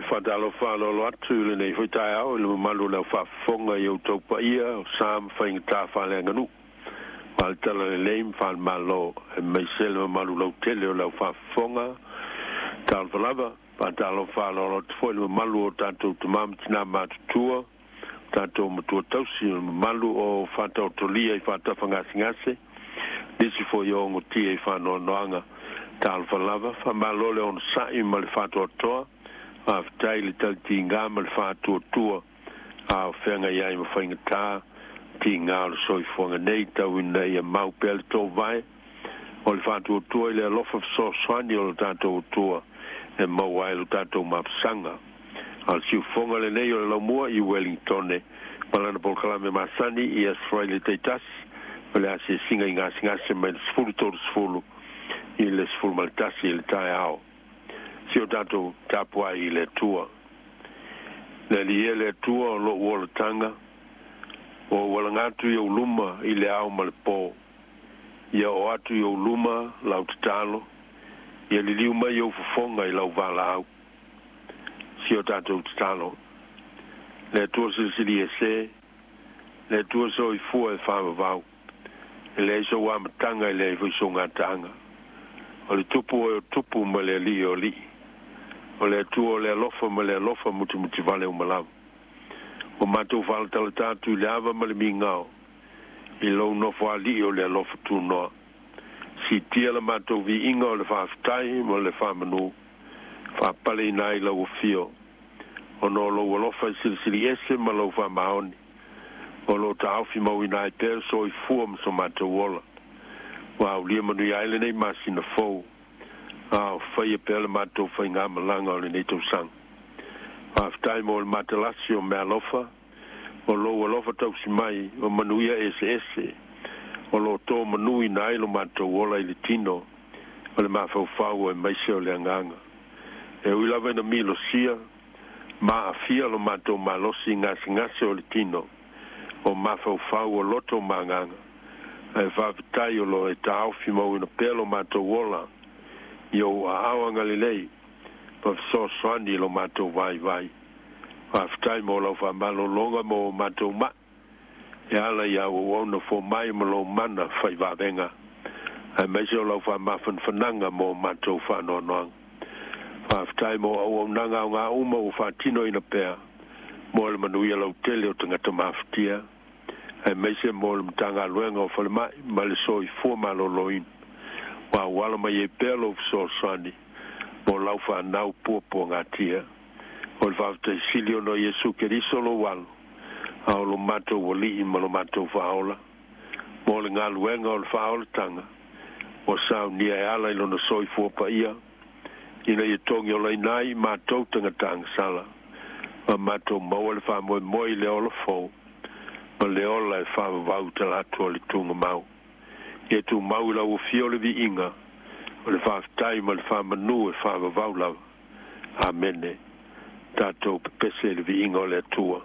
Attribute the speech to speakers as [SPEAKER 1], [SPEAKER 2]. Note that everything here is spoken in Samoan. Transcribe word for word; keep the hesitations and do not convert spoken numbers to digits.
[SPEAKER 1] Faatalofa aloalo atu i lenei foi taeao i le mamalu o le aufaafofoga i outou paia o sa ma faigata faaleaganuu faale-talalelei ma faale-Malo, aemaise le mamalu lautele o le aufaafofoga. Talofa lava. Faatalofa aloalo atu foi i le mamalu o tatou tamā ma tinā matutua, tatou matua tausi, o le mamalu o faataotolia i faatafagasegase, nisi foi o ogotia i faanoanoaga. Talofa lava. Faamalo le onosa'i ma le faatoatoa. Faafetai le talitiga ma le faatuatua a o feagai ai ma faigata tiga o le soifuaga nei, tau ina ia mau pea le tovae o le faatuatua i le alofa fesoasoani o le tatou Atua e maua ai lo tatou mapusaga. A o le siufoga lenei o le laumua i Wellingtone ma lana polokalame masani i Aso Faraile taitasi o le asiasiga i gasegase mai le sefulu tolusefulu i le sefulu ma le tasi i le taeao. Si o tatou tapuai i le Atua. Le Alii e le Atua o lou olataga, ua ou alaga atu i ou luma i le ao ma le po. Ia oo atu i ou luma lau tatalo, ia liliu mai ou fofoga i lau valaau. Si o tatou tatalo. Le Atua silisili ese, le Atua soifua e faavavau, e leai sou amataga e leai foi sou gataaga. O le Tupu oe o tupu ma le Alii o alii. O le Atua o le alofa ma le alofa mutimutivale uma lava. Ua matou faalatalata atu i le ava ma le migao i lou nofoalii o le alofa tunoa. Siitia la matou viiga o le faafetai ma le faamanu, faapaleina ai lau afio, ona o lou alofa e silisili ese ma lau faamaoni, o loo taofi mauina ai pea le soifua ma so matou ola. Ua aulia manuia ai lenei masina fou, a o faia pea le matou faigamalaga o lenei tausaga. Faafetai mo le matalasi o meaalofa, o lou alofa tausi mai o manuia eseese o loo to manuina ai lo matou ola i le tino o le mafaufau aemaise o le agaga. E ui lava ina milosia ma aafia lo matou malosi i gasegase o le tino o mafaufau o loto ma agaga, ae faafetai o loo e taofi mauina pea lo matou ola i ou aao agalelei ma fesoasoani i lo matou vaivai. Faafetai mo lau faamalologa mo matou ma'i e ala i au auauna fomai ma lou mana faivavega, aemaise o lau faamafanafanaga mo matou faanoanoaga. Faafetai mo auaunaga aoga uma ua faatinoina pea mo le manuia lautele o tagata mafatia, aemaise mo le Matagaluega o Falemai ma le Soifua Maloloina, ua auala mai ai pea lou fesoasoani mo lau fanau puapuagatia. O le faafetai sili ona o Iesu Keriso lou Alo, a o lo matou Alii ma lo matou Faaola, mo le galuega o le faaolataga ua saunia e ala i lona soifua paia, ina ia togi olaina ai matou tagata agasala, ma matou maua le faamoemoe i le ola fou ma le ola e faavavau talatu o le tugamau. Ia tumau i lau afio le viiga o le faafetai ma le faamanu e faavavau lava. Amene. Tatou pepese i le viiga o le Atua.